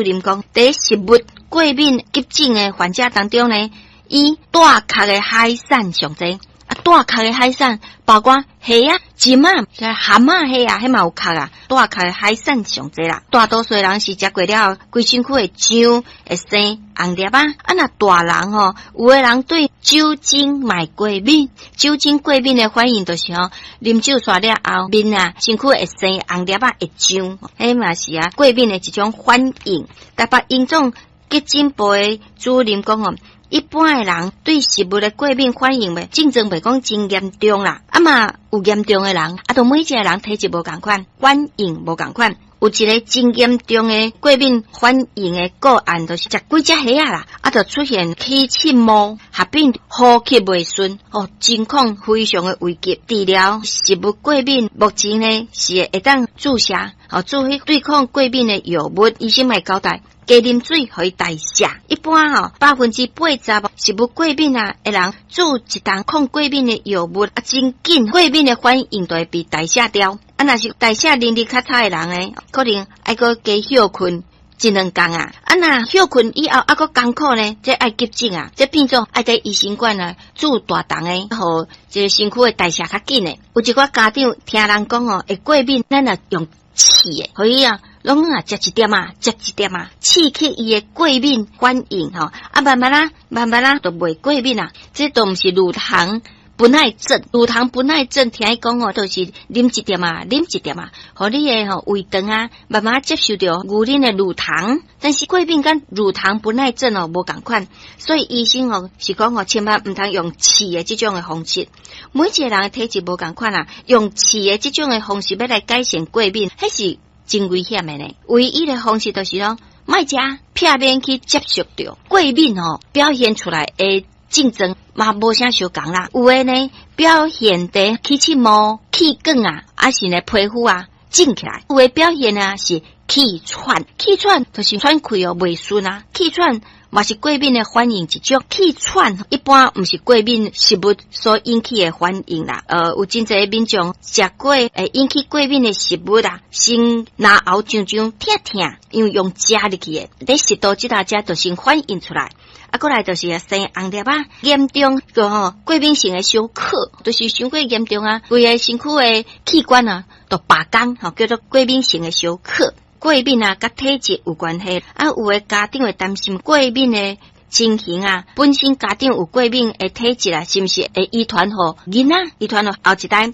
任講，佇食物過敏急診的患者當中呢，以帶殼的海產上濟。啊，帶殼的海產包括蝦仔、蟳仔、蚶仔、蝦仔，彼嘛有殼啊。帶殼的海產上濟啦。大多數人是食過了後，規身軀會脹，會生紅粒仔。啊，若大人吼，有的人對酒精嘛會過敏，酒精過敏的反應就是吼，啉酒煞了後，面啊，身軀會生紅粒仔，會脹，彼嘛是啊過敏的一種反應。台北榮總急診部的主任講吼，一般的人對食物的過敏反應袂症狀袂講真嚴重啦，啊嘛有嚴重的人，啊都每一個人體質無仝款，反應無仝款。有一個真嚴重的過敏反應的個案，就是食幾隻蝦仔啦，啊就出現起刺毛，合併呼吸袂順，哦，情況非常的危急。治療食物過敏，目前呢是會當注射，哦，注彼對抗過敏的藥物，醫生會交代。加啉水，予伊代謝。一般吼，80%食物過敏啊的人，注一筒抗過敏的藥物啊，真緊過敏的反應就會被代謝掉。啊，若是代謝能力較差的人呢，可能愛閣加歇睏一兩工啊。啊，若歇睏以後猶閣艱苦呢，這愛急診啊，這變做愛佇醫生館啊注大筒的，予這個身軀的代謝較緊的。有一寡家長聽人講吼，會過敏，咱若用刺的，予伊啊。攏啊，食一點仔，食一點仔，刺激伊的過敏反應吼，啊，慢慢仔，慢慢仔，就袂過敏啊。這都毋是乳糖不耐症，乳糖不耐症聽伊講吼，就是啉一點仔，啉一點仔，予你的吼胃腸啊，慢慢接受著牛奶的乳糖。但是過敏佮乳糖不耐症哦無仝款，所以醫生哦是講吼，千萬毋通用刺的這種的方式。每一個人的體質無仝款啊，用刺的這種的方式欲來改善過敏，彼是真危險的呢。唯一的方式就是講，莫食，避免去接觸著過敏吼，表現出來的症狀嘛無啥相仝啦。有的呢，表現佇起刺毛、氣管啊，抑是呢皮膚啊腫起來。有的表現啊是氣喘，氣喘就是喘氣哦袂順啊，氣喘嘛是過敏的反應一種。氣喘一般毋是過敏食物所引起的反應啦。有真濟民眾食過會引起過敏的食物啊，先嚨喉脹脹疼疼，因為用食入去的，佇食道這搭遮就先反應出來。啊，過來就是生紅粒仔，嚴重個吼過敏性的休克，就是傷過嚴重啊，規个身軀的器官啊都罷工，吼叫做過敏性的休克。過敏啊，佮體質有關係。啊，有的家長會擔心過敏的情形啊，本身家長有過敏的體質啊，是毋是會遺傳予囡仔？遺傳予後一代？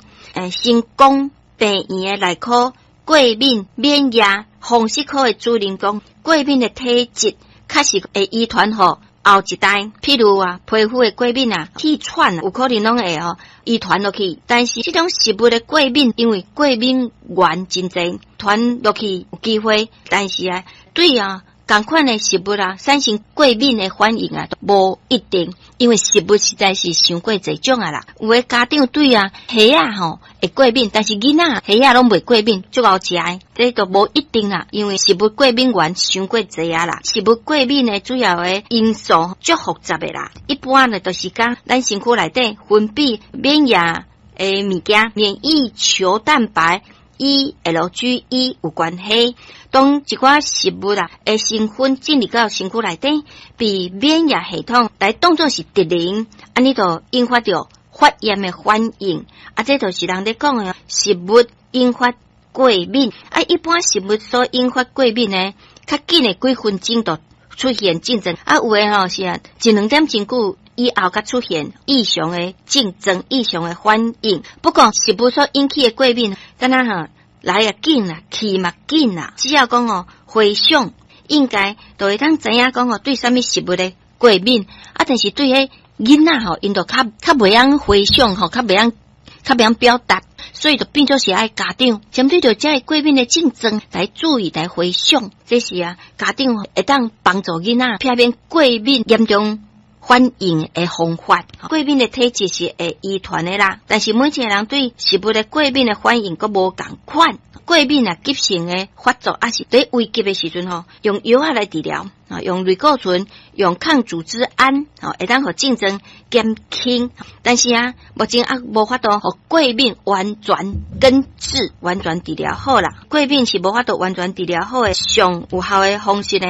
成功病院的內科過敏免疫風濕科的主任講，過敏的體質確實會遺傳予後一代，譬如啊，皮膚的過敏啊，氣喘，有可能攏會哦遺傳落去。但是這種食物的過敏，因為過敏原真濟，傳落去有機會。但是啊，對啊，仝款的食物啊，產生過敏的反應啊，無一定，因為食物實在是傷過濟種啊啦。有的家長對啊蝦仔吼會過敏，但是囡仔蝦仔攏袂過敏，足𠢕食的，這都無一定啦。因為食物過敏原傷過濟啊啦，食物過敏的主要的因素足複雜的啦。一般呢，就是講咱身軀內底分泌免疫的物件，免疫球蛋白 IgE 有關係。當一寡食物啊的成分進入到身軀內底，被免疫系統來當作是敵人，按呢就引發著發炎的反應。啊，這就是人咧講的食物引發過敏。啊，一般食物所引發過敏呢，較緊的幾分鐘就出現症狀。啊，有的吼是啊，一兩點鐘久以後才出現異常的症狀、異常的反應。不過食物所引起的過敏，敢若吼來也緊啦，去嘛緊啦。只要講哦，回想應該就會當知影講哦，對啥物食物的過敏啊，但是對彼囡仔吼，𪜶就較較袂曉回想吼，較袂曉表達，所以就變做是愛家長針對著這个過敏的症狀來注意來回想，這是啊家長會當幫助囡仔避免過敏嚴重。反應的方法。過敏的體質是會遺傳的啦，但是每一個人對食物的過敏的反應閣無仝款。過敏啊，急性的發作，抑是佇危急的時陣吼，用藥仔來治療啊，用類固醇、用抗組織胺，吼，會當予症狀減輕。但是啊，目前猶無法度予過敏完全根治、完全治療好啦。過敏是無法度完全治療好的，上有效的方式呢，